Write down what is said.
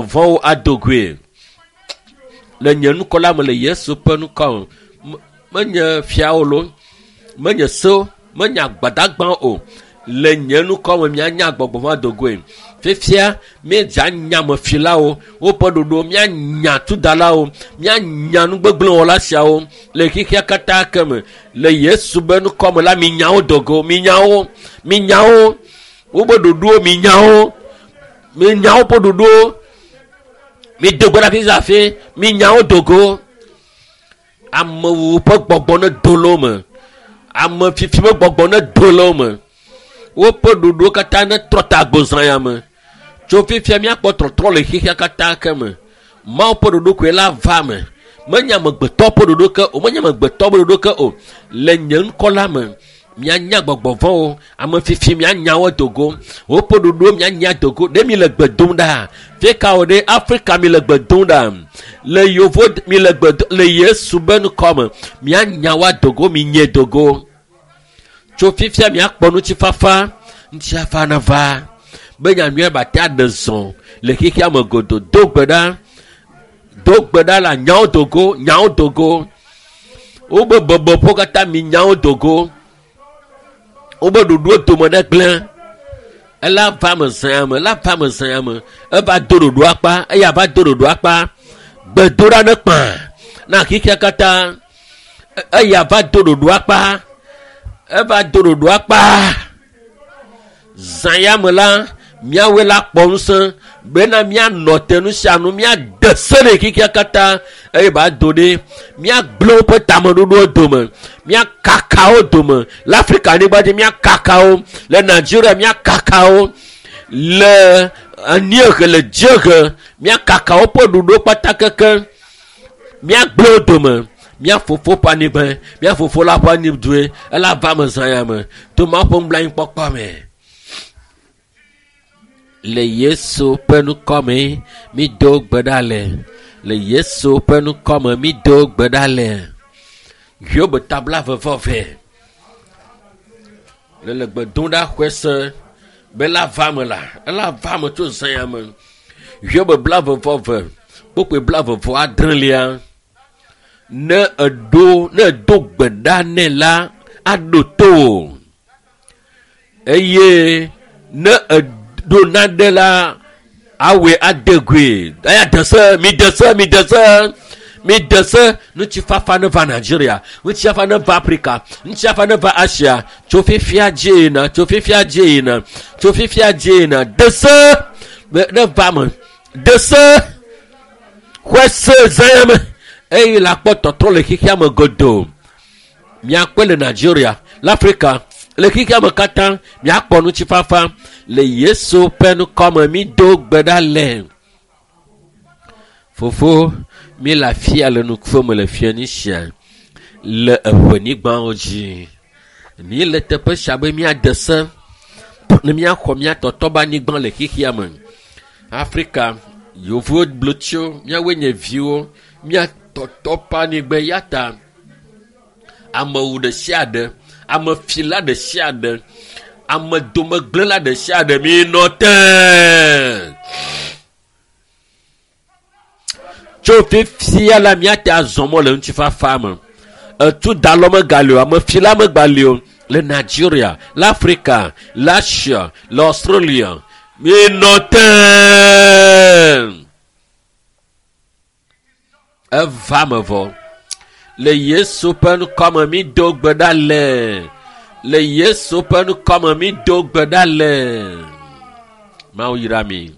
vɔ̃wo ado goe le nye ŋkɔ la me le Yesu ƒe ŋkɔ me. Menye fiawo loo, menye sewo, menye agbadagbawo o. Le nye ŋkɔ me mianya gbɔgbɔ vɔ̃ ado goe. Fifia míedze anya amefilawo, woƒe ɖoɖo, míanya tudalawo, míanya nugbegblẽwɔla siawo le xexea katã ke me. Le Yesu be ŋkɔ me la, minya wo do go, minya wo, minya wo, woƒe ɖoɖowo, minya wo, minya woƒe ɖoɖowo. Mido gbe ɖa fifia hafi minya wo do go. Amewo ƒe gbɔgbɔ ne do le wo me. Ame fifi ƒe gbɔgbɔ ne do le wo me. Woƒe ɖoɖowo katã ne trɔ ta gbozã ya me. Tso fifia míakpɔ trɔtrɔ le xexea katã ke me. Mawu ƒe ɖoɖo koe la va me. Menye amegbetɔ ƒe ɖoɖo ke o, menye amegbetɔ ƒe ɖoɖo ke o. Le nye ŋkɔ la me, mianya gbɔgbɔ vɔ̃wo, ame fifi mianya wo do go. Woƒe ɖoɖowo mianya do go. Ɖe mi le gbe dom ɖa? Fika wo ɖe Afrika mi le gbe dom ɖa? Le yovo mi le gbe do le Yesu be ŋkɔ me mianya wo do go, minye do go. Tso fifia miakpɔ ŋutifafa, ŋutifafa nava be nyanyuia ba te aɖe zɔ le xexea me godoo. Do gbe ɖa, do gbe ɖa la nyawo do go, nyawo do go. Wobe bɔbɔƒewo katã mi nyawo do go. Wobe ɖoɖowo dome ɖe gblẽ. Ela va me zã me, ela va me zã me. Eva do ɖoɖo akpa, eya va do ɖoɖo akpa. Gbedoɖa ne kpã na xexea katã. Eya va do ɖoɖo akpa. Eva do ɖoɖo akpa. Zã ya me la, míawoe la kpɔ ŋusẽ bena míanɔ te nu sia nu, míade se ɖe xexea katã eye ba do ɖe míagblẽ woƒe tameɖoɖowo dome, míakaka wo dome le Afrika anyigba dzi, míakaka wo le Nigeria, míakaka wo le anyiehe, le dziehe, míakaka woƒe ɖoɖowo kpata keke, míagblẽ wo dome. Mía fofo ƒe anyigba, mía fofo la ƒe anyidue, ela va me zã ya me to Mawu ƒe nublanuikpɔkpɔ me. Le Yesu ƒe ŋkɔ me mido gbe ɖa le. Le Yesu ƒe ŋkɔ me mido gbe ɖa le. Hiob tabla vevɔve. Le le gbe dom ɖa xɔe se be la va me la, ela va me tso zã ya me. Hiob bla vevɔve, kpokpoe bla vevɔ adrelia. Ne eɖo, ne edo gbe ɖa nɛ la, aɖo to wò. Eye ne eɖo naɖe la, awɔe ade goe. Eya de se, mi de se, mi de se, mi de se. Ŋutifafa ne va Nigeria, ŋutifafa ne va Afrika, ŋutifafa ne va Asia. Tso fifia dzi yina, tso fifia dzi yina, tso fifia dzi yina. De se ne va me, de se, xɔe se zã ya me. Eye la kpɔ tɔtrɔ le xexea me godoo. Miakpɔe le Nigeria, le Afrika, le xexea me katã, miakpɔ ŋutifafa le Yesu ƒe ŋkɔ me. Mido gbe ɖa le. Fofo, mi le afia le nukuƒe me le Phoenicia, le eʋenyigbawo dzi. Mi le teƒe sia be míade se ne míaxɔ mía tɔtɔ be anyigba le xexea me. Afrika, yevuwo blotsiwo, míawoe nye viwo, mía tɔtɔ ƒe anyigba ya ta amewu ɖe sia ɖe, amefila ɖe sia ɖe, ame domegblẽla ɖe sia ɖe, minɔ te. Tso fifia la míate azɔ mɔ le ŋutifafa me. Etu dalɔ megali o, amefila megali o le Nigeria, le Afrika, le Asia, le Australia. Minɔ te. Eva me vɔ. Le Yesu ƒe ŋkɔ me mido gbe ɖa le. Le Yesu ƒe ŋkɔ me mido gbe ɖa le. Mawu yra mi.